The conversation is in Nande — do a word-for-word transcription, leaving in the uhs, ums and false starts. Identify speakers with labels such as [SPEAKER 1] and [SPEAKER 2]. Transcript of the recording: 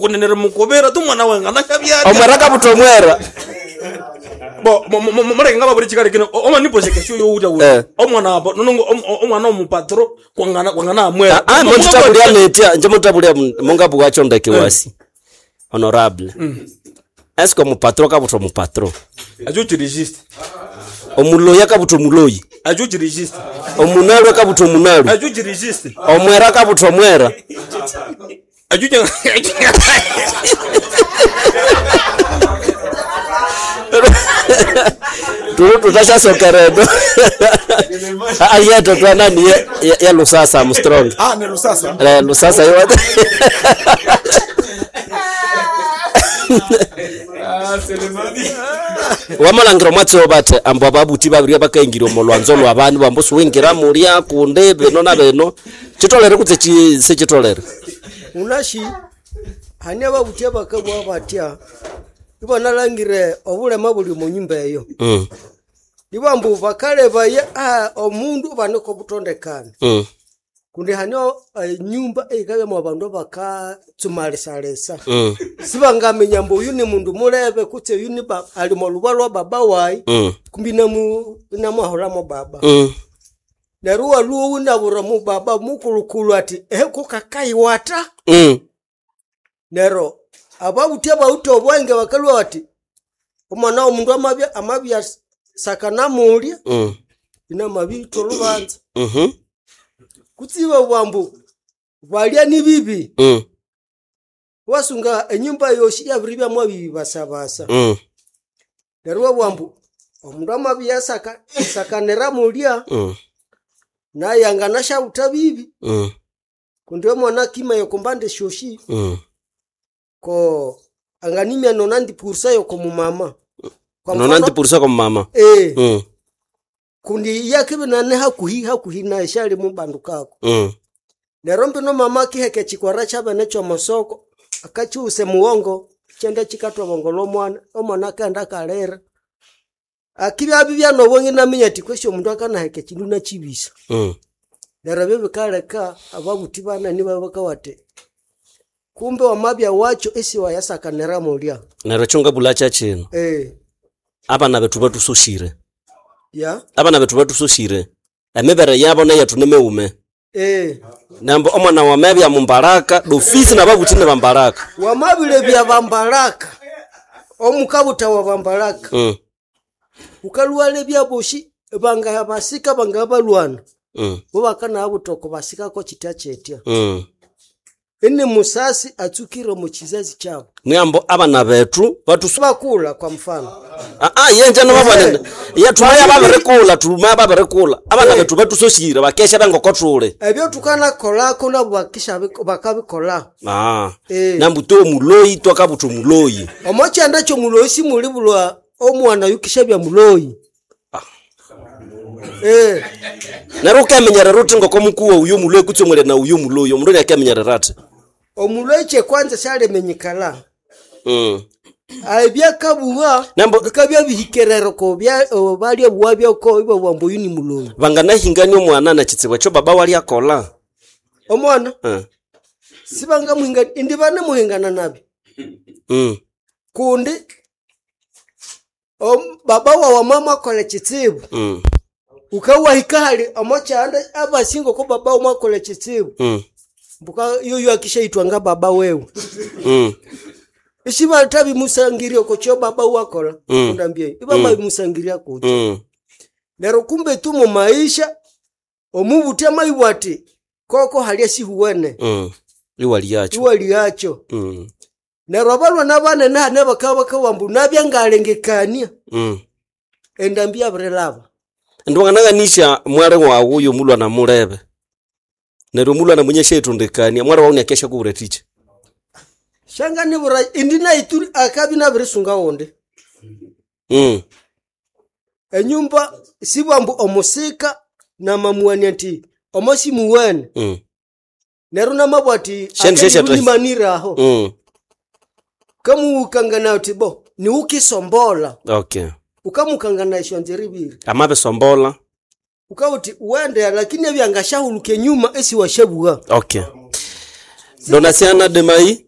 [SPEAKER 1] Kunenere mukubira tu mwana wenga nashabyatya.
[SPEAKER 2] Omwera kabuta omwera.
[SPEAKER 1] Bo mureke ngababuri chikali kino oma nipoze kesho yo uta
[SPEAKER 2] Eh.
[SPEAKER 1] uta. Omwana abo nonongo omwana omupatro kwangana kwangana amwera.
[SPEAKER 2] Ah, mututabulia netia nje mutabulia mungabu wacho ndeke wasi. Honorable. Est-ce que omupatro kabuta omupatro?
[SPEAKER 1] Ajo chirigiste.
[SPEAKER 2] Omuloyi akabuta omuloyi.
[SPEAKER 1] Ajo chirigiste.
[SPEAKER 2] Omunalu akabuta omunalu.
[SPEAKER 1] Ajo chirigiste.
[SPEAKER 2] Omwera akabuta omwera.
[SPEAKER 1] Ajo
[SPEAKER 2] Tulu tutashasokeredo. Ayeto twanani ye, ye, ye Lusasa Armstrong.
[SPEAKER 3] Ah, ni Lusasa.
[SPEAKER 2] Eh, Lusasa yo. Wamalangira mwatsi bate ambo ababuti babiri bakaingira omolwanzo lwa bandu bambo suwingira mulya kunde beno na beno chitolere kutse chi se chitolere.
[SPEAKER 4] Unashi hani ababuti abakabwa batya ibanalangire obulema buli mu nyumba eyo.
[SPEAKER 2] Mm.
[SPEAKER 4] Ibambu bakaleba ah, omundu baneko butondekana.
[SPEAKER 2] Mm.
[SPEAKER 4] Kundi hani enyumba eikabya abandu bakatsumalisa-lisa.
[SPEAKER 2] Mm.
[SPEAKER 4] Sibangamenya mbu uyu ni mundu mulebe kutse uyu ni ba, ali moluba lwa baba wayi.
[SPEAKER 2] Mm.
[SPEAKER 4] Kumbi namu namuahulamo baba.
[SPEAKER 2] Mm.
[SPEAKER 4] Neryo waluwo unabura mu baba mukulukulu ati ehe kukakaiwata.
[SPEAKER 2] Mm.
[SPEAKER 4] Neryo ababuti abawithe obwenge bakalwa bati omwana w'omundu amabya amabya sakanamulya
[SPEAKER 2] Mm.
[SPEAKER 4] inamabitha olubanza.
[SPEAKER 2] Mhm.
[SPEAKER 4] Kutsiba bwambu balya ni bibi.
[SPEAKER 2] Mm.
[SPEAKER 4] Wasunga enyumba yosi yabiribya mwabibi basabasa.
[SPEAKER 2] Mm.
[SPEAKER 4] Neryo bwambu omundu amabya saka sakanira mulya
[SPEAKER 2] Mm.
[SPEAKER 4] naye anganashawutha bibi.
[SPEAKER 2] Mm.
[SPEAKER 4] Kundi omwana kima yokumbande shoshi
[SPEAKER 2] Mm.
[SPEAKER 4] ko anganimya nonandi pursa yokomumama. Kwa
[SPEAKER 2] Nona
[SPEAKER 4] mfano-
[SPEAKER 2] ndipurisa kwa mama.
[SPEAKER 4] Eh.
[SPEAKER 2] Mm.
[SPEAKER 4] Kundi yakibe nane hakuhi hakuhi na shali mubandu kako.
[SPEAKER 2] Mm.
[SPEAKER 4] Neryo mbino mama akiheka ekikwara kyabene ky'omusoko akakiwusa emuwongo kyenda kikatwa bongo lw'omwana omwana akaghenda akalira. Akibya bibya n'obwenge naminya ati kwesi omundu akanaheka ekindu nakibisa.
[SPEAKER 2] Mm.
[SPEAKER 4] Neryo ebyo bikaleka ababuthi banani babakawate kumbe wamabya wakyo esiwayasakanira mulya.
[SPEAKER 2] Neryo kyongabula kyakino.
[SPEAKER 4] Eh.
[SPEAKER 2] Abana bethu batusoshire.
[SPEAKER 4] Ya.
[SPEAKER 2] Abana bethu batusoshire. Emibere yabo neyethu nimeume.
[SPEAKER 4] Eh.
[SPEAKER 2] Nambo omwana wamebya mumbaraka dofisi nababuthi ne bambaraka.
[SPEAKER 4] Wamabile bya bambaraka. Omukabuta wa bambaraka.
[SPEAKER 2] Mm.
[SPEAKER 4] Ukaluwale byaboshi banga basika banga balwana.
[SPEAKER 2] Mm.
[SPEAKER 4] Bo bakana abutoko basikako kitya kyetya.
[SPEAKER 2] Mm.
[SPEAKER 4] Ene musasi atsukire mu kizazi kyabo.
[SPEAKER 2] Mwambo abana bethu batusu
[SPEAKER 4] bakula kwa mfano.
[SPEAKER 2] Ah ah yenje no babane. Ya tumaya baberekula tumaya baberekula. Abana bethu batusoshire bakesha bangokotule.
[SPEAKER 4] Ebyo tukana kolako nabo bakisha bakabikola.
[SPEAKER 2] Ah.
[SPEAKER 4] Eh.
[SPEAKER 2] Nambu to muloyi twakabutu muloyi.
[SPEAKER 4] Omokyanda kyo muloyi simulibulwa omwana yukisha bya muloyi.
[SPEAKER 2] Ah.
[SPEAKER 4] Eh.
[SPEAKER 2] Neryo ukamenyerera uthi ngokomukuwa uyo muloyi kutsomwele na uyo muloyi omundu akamenyerera ati.
[SPEAKER 4] Omuloyi kye kwanza syalemenyekala.
[SPEAKER 2] Mm.
[SPEAKER 4] Ebyakabuwa
[SPEAKER 2] Nambo
[SPEAKER 4] bikabya bihikerero ko bya balya buwa byako ibo bwambo uyu ni muloyi.
[SPEAKER 2] Banganahingania omwana na kitsibu ekyo baba wali akola.
[SPEAKER 4] Omwana
[SPEAKER 2] Eh.
[SPEAKER 4] sibanga muhinga indi bane muhingana nabi.
[SPEAKER 2] Mm.
[SPEAKER 4] Kundi om baba wawe mama akola kitsibu.
[SPEAKER 2] Mm.
[SPEAKER 4] Ukawahika hali omokyanda abasingo ko baba wawe akola kitsibu.
[SPEAKER 2] Mm.
[SPEAKER 4] Mbuka yoyo akishaitwa nga baba wewe.
[SPEAKER 2] Mm.
[SPEAKER 4] Ishiba tabi musangiria ko kyo baba wakola.
[SPEAKER 2] Mm.
[SPEAKER 4] Undambie. Iba
[SPEAKER 2] Mm.
[SPEAKER 4] mm. musangiria ko.
[SPEAKER 2] Mm.
[SPEAKER 4] Nero kumbe tu mu maisha omubuti amayiwati koko hali sihuwene.
[SPEAKER 2] Mm. Iwali yacho.
[SPEAKER 4] Iwali yacho.
[SPEAKER 2] Mm.
[SPEAKER 4] Nero abalwa nabane nane bakaba kawambu nabyangalengekania.
[SPEAKER 2] Mm.
[SPEAKER 4] Endambia brelava.
[SPEAKER 2] Ndwangananganisha mwale wawu uyo mulwa na mulebe. Neryo mulwa na munye shetundikania mwale wawu nyakesha kubure ticha.
[SPEAKER 4] Shanga nibura indina ituri akabi nabirisunga wonde.
[SPEAKER 2] Mm.
[SPEAKER 4] Enyumba sibwambu omusika na mamuani ati omosi muwene.
[SPEAKER 2] Mm.
[SPEAKER 4] Neryo namabwati
[SPEAKER 2] Shendi shesha
[SPEAKER 4] akali maniraho.
[SPEAKER 2] Mm.
[SPEAKER 4] Kamuukangana ati bo ni ukisombola.
[SPEAKER 2] Okay.
[SPEAKER 4] Ukamukangana ishonze ribiri.
[SPEAKER 2] Amabe sombola.
[SPEAKER 4] Ukauti uende lakini ebyangashahuluke nyuma esi washabuga.
[SPEAKER 2] Okay. Donasiana Demai